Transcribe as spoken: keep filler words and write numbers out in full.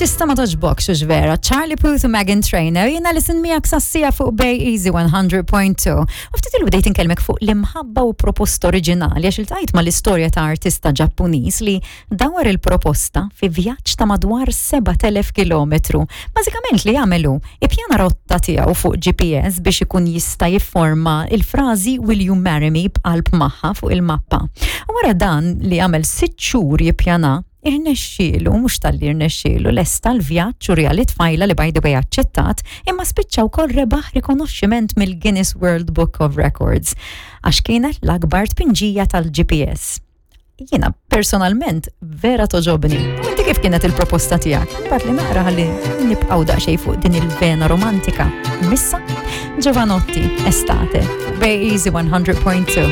L-artista ma togħġbokx, hux vera? Charlie Puth u Meghan Trainor, jiena Alison miegħek sas-siegħa fuq Bay Easy one hundred point two. U ftit ilu bdejt inkellmek fuq l-imħabba u proposta oriġinali, għax iltqajt ma l-istorja ta' artista Ġappuniż li dawar il-proposta fi vjaġġ ta' madwar sebat elef kilometru. Bażikament li għamel hu, ippjana rotta tiegħu fuq G P S biex ikun jista' jifforma il-frażi "Will you marry me" b'qalb magħha fuq il-mappa. U wara dan li għamel sitt xhur jippjana, irnexxielu, mhux talli irnexxielu, lesta l-vjaġġ u wrieh lit-tfajla li, by the way, aċċettat, imma spiċċa wkoll rebaħ rikonoxximent mill-Guinness World Book of Records għax kienet l-akbar tpinġija tal-G P S. Jiena personalment vera togħġobni. Inti kif kienet il-proposta tiegħek? Ibgħatli naqra ħalli nibqgħu daqsxejn fuq din il-vena romantika. Missa, Jovanotti, Estate, Bay Easy one hundred point two.